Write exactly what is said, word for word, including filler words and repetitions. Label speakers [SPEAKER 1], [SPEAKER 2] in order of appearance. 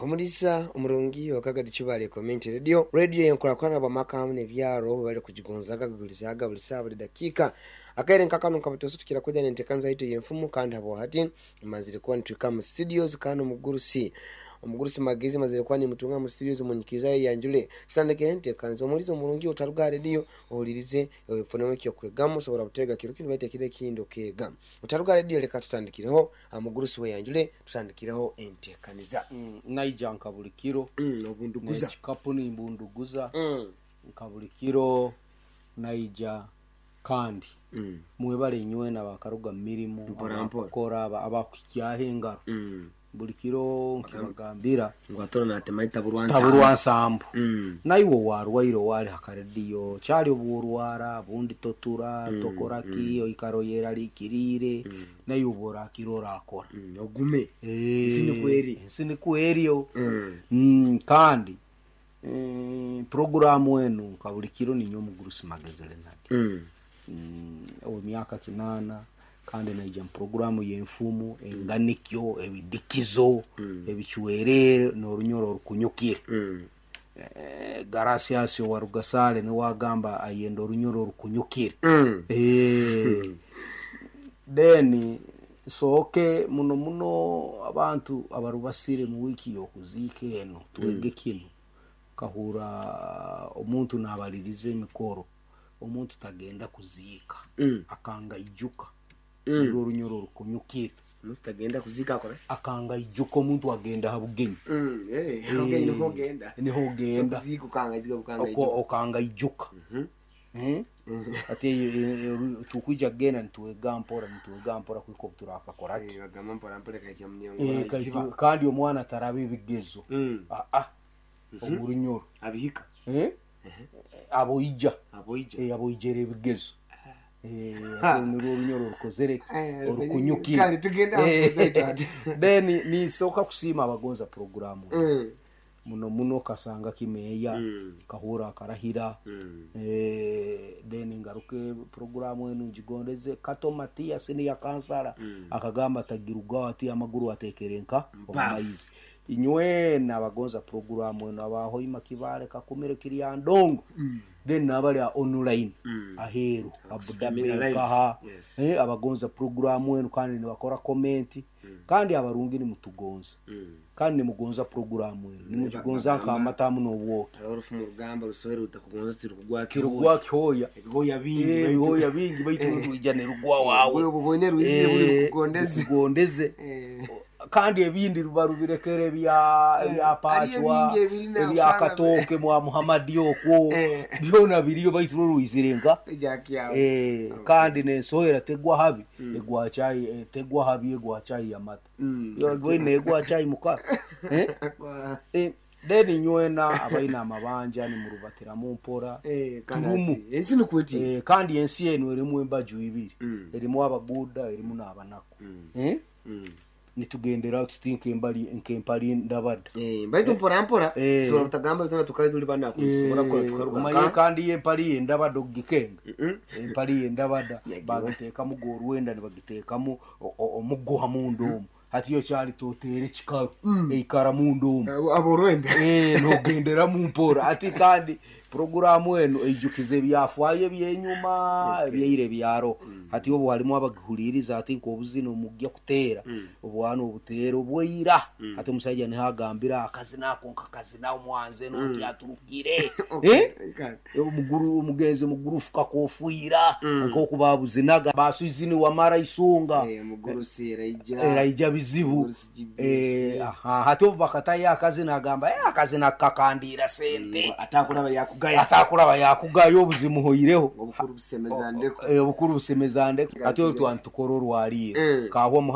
[SPEAKER 1] Omulisa omurungi wakagadi Kibale Community Radio, radio yenkurakurana bamaka hamwe n'ebyaro bari kugigonzaga kugulizaga buli saawa, buli dakiika. Akaire nkakano nkabatoso tukira kuja nentekanza yitu yenfumu, kandi habo hati mazire kuba nitwika mu studios, kandi omugurusi omugurusi Magezi mazire kuba nimutunga mu studios. Munyikiza yanjule tutandike enteekaniza. Omulizi omurungi, otaruga radio, ohulirize, ofunemu ekyokwegamu. Osobola butega kiro kinu baitu ekiro ekindi okeega. Otaruga radio, leka tutandikireho. Omugurusi we yanjule, tutandikireho enteekaniza.
[SPEAKER 2] Mm, naija nka buli kiro.
[SPEAKER 1] Mm, obunduguza.
[SPEAKER 2] Nekikapu nimbunduguza.
[SPEAKER 1] Mm,
[SPEAKER 2] nka buli kiro naija, kandi
[SPEAKER 1] mm,
[SPEAKER 2] mwebale inywena abakaruga mu mirimu,
[SPEAKER 1] Mpora, mpora.
[SPEAKER 2] abakukora, aba- abakuhikyaho engaro.
[SPEAKER 1] mm.
[SPEAKER 2] Buli kiro nkibagambira,
[SPEAKER 1] Ngu atora natema itaburwa.
[SPEAKER 2] Taburwa nsambu.
[SPEAKER 1] Mm.
[SPEAKER 2] Naiwe warwaire, owali hakarediyo kyali obworwara bundi totura tokoraki, oikara oyeralikiriire, naiwe obworakira orakora.
[SPEAKER 1] Mm, ogume.
[SPEAKER 2] Eh,
[SPEAKER 1] Ensi nikwo eri.
[SPEAKER 2] Ensi nikwo eriyo.
[SPEAKER 1] Mm.
[SPEAKER 2] Mm, kandi eh, programu enu nka buli kiro ninyo omugurusi Magezi Lenard,
[SPEAKER 1] Mm.
[SPEAKER 2] mm, ow'emyaka kinaana, kandi naija mu programu y'enfumu, enganikyo, ebidikizo, ebicwerere n'orunyoro orukunyukire.
[SPEAKER 1] Mm.
[SPEAKER 2] Eh, Garasiasi owa Rugasale niwe agamba ayenda orunyoro orukunyukire.
[SPEAKER 1] Mm.
[SPEAKER 2] Eh, then sooke muno muno abantu abarubasire mu wiiki y'okuziika eno twege kinu. Kahura omuntu nabaliriza emikoro, omuntu tagenda kuziika,
[SPEAKER 1] Mm.
[SPEAKER 2] akanga ijuka.
[SPEAKER 1] Mm.
[SPEAKER 2] Nirwo orunyoro orukunyukire.
[SPEAKER 1] Omuntu tagenda kuziika akora.
[SPEAKER 2] Akanga ijuka, omuntu agenda ha bugenyi.
[SPEAKER 1] Mm, eh, okay, niho ogenda.
[SPEAKER 2] Niho ogenda.
[SPEAKER 1] Kuziika ukanga ijuka, ukanga
[SPEAKER 2] Oko-
[SPEAKER 1] ijuka.
[SPEAKER 2] Okanga ijuka. Eh? Ati eyo- eyo- eyo- tukwija kugenda nitwega mpora, nitwega mpora kwika obu turakakoraki.
[SPEAKER 1] Eh, bagamba mpora mpora kaikya munyango.
[SPEAKER 2] Eh,
[SPEAKER 1] isiba.
[SPEAKER 2] kaiki- kandi omwana taraba ebigezo.
[SPEAKER 1] Mm.
[SPEAKER 2] Ah, ah. Omurunyoro.
[SPEAKER 1] Abihika.
[SPEAKER 2] Eh? Aboija.
[SPEAKER 1] Aboija.
[SPEAKER 2] Eh, aboijera ebigezo. Eh, ate nirwo orunyoro orukozere
[SPEAKER 1] Eh,
[SPEAKER 2] orukunyukire.
[SPEAKER 1] Kale tugende aho
[SPEAKER 2] Eh,
[SPEAKER 1] kuzaito ati.
[SPEAKER 2] Then nisooka kusiima abagonza programu
[SPEAKER 1] Mm.
[SPEAKER 2] muno muno, kasanga kimeeya,
[SPEAKER 1] Mm.
[SPEAKER 2] kahura akarahira.
[SPEAKER 1] Mm.
[SPEAKER 2] Eh, then ngaruke programu enu ngigondeze Kato Matias niya kansara, akagamba tagirugaho ati amaguru atekere nka omumaizi. Inywena abagonza programu enu, abahoima Kibale, Kakumire, Kirya Ndongo, then nabali a online aheru
[SPEAKER 1] Streaming
[SPEAKER 2] Abudabi,
[SPEAKER 1] live.
[SPEAKER 2] kaha.
[SPEAKER 1] Yes.
[SPEAKER 2] Eh, abagonza programu enu kandi nibakora comment, kandi abarungi nimutugonza,
[SPEAKER 1] Mm.
[SPEAKER 2] kandi nimugonza programu enu, nimugigonza nkamatamu n'obwoki.
[SPEAKER 1] Hariho orufumu rugamba rusohera rutakugonza tirukugwa.
[SPEAKER 2] Kirugwa kihoya.
[SPEAKER 1] Ebihoya bingi.
[SPEAKER 2] Eh,
[SPEAKER 1] baitu-
[SPEAKER 2] ebihoya bingi, baitu rwija nerugwa wawe.
[SPEAKER 1] Bwe bubone rwizire buri
[SPEAKER 2] Eh,
[SPEAKER 1] rukugondeze.
[SPEAKER 2] rukugondeze.
[SPEAKER 1] Eh.
[SPEAKER 2] Kandi ebindi ruba rubirekere ebya ebya pachwa,
[SPEAKER 1] Hariyo ebingi ebiri
[SPEAKER 2] ebya
[SPEAKER 1] usanga-
[SPEAKER 2] katooke mwa Muhamadi okwo,
[SPEAKER 1] Eh.
[SPEAKER 2] byona biriyo, baitu rwo rwizire nka
[SPEAKER 1] Jack yawe.
[SPEAKER 2] Eh, kandi nensohera tegwa habi egwa chai, eh, tegwa habi egwa chai ya mata.
[SPEAKER 1] Mm.
[SPEAKER 2] Yo, bwine egwa chai muka. Eh?
[SPEAKER 1] Kwa-
[SPEAKER 2] Eh, then inywena abaina amabanja nimurubatiramu mpora.
[SPEAKER 1] Eh, kandi
[SPEAKER 2] Turumu.
[SPEAKER 1] ati, ensi nikwo eti.
[SPEAKER 2] Eh, kandi ensi eno erimu embaju ibiri,
[SPEAKER 1] Mm.
[SPEAKER 2] erimu abaguda, erimu n'abanaku. Eh?
[SPEAKER 1] Mm.
[SPEAKER 2] Nitugendera tuti nkembali nkempali ndabada.
[SPEAKER 1] Eh, baitu mpora mpora
[SPEAKER 2] Eh.
[SPEAKER 1] sobola butagamba bitona tukali tuli banaku tusobola kukola tukaruga
[SPEAKER 2] Omaye
[SPEAKER 1] nka-
[SPEAKER 2] kandi yempali yendabada ogikenga,
[SPEAKER 1] Mm-mm.
[SPEAKER 2] empali yendabada
[SPEAKER 1] Yagiwa.
[SPEAKER 2] bagiteekamu gorwenda, nibagiteekamu o- o- omuguha munda omu, hati yo kyali toteere kikaru eikara munda omu.
[SPEAKER 1] Abo- aborwenda.
[SPEAKER 2] Eh, nogenderamu mpora ati, kandi programu eno eijukiza ebyafaayo ebyenyuma, ebyaire ebyaro. Hati obu harimu abagihuliriza, ati nk'obuzina omujja kuteera obwana obuteera obwaira, ati omusajja niho agambira akazina ako nkakazina omwanze notyaturukire.
[SPEAKER 1] Okay,
[SPEAKER 2] Eh?
[SPEAKER 1] kale.
[SPEAKER 2] Omuguru omugenzi mugurufu kakofiira nk'okubabuzinaga baswizini wamara isunga.
[SPEAKER 1] Eh, omugurusi eraija.
[SPEAKER 2] Eraija bizibu.
[SPEAKER 1] Omugurusi G B S.
[SPEAKER 2] Eh, aha, hati obu bakatayo akazina agamba, "Eh, akazina kakandira sente."
[SPEAKER 1] Atakulaba yakugaya.
[SPEAKER 2] Atakulaba yakugayo obuzimuhoireho.
[SPEAKER 1] Obukuru busemeza ndeko.
[SPEAKER 2] Eh, obukuru busemeza ndeko. Ati olwo twantukora orwaliiro.
[SPEAKER 1] Mm.
[SPEAKER 2] Kahwa Muhammad.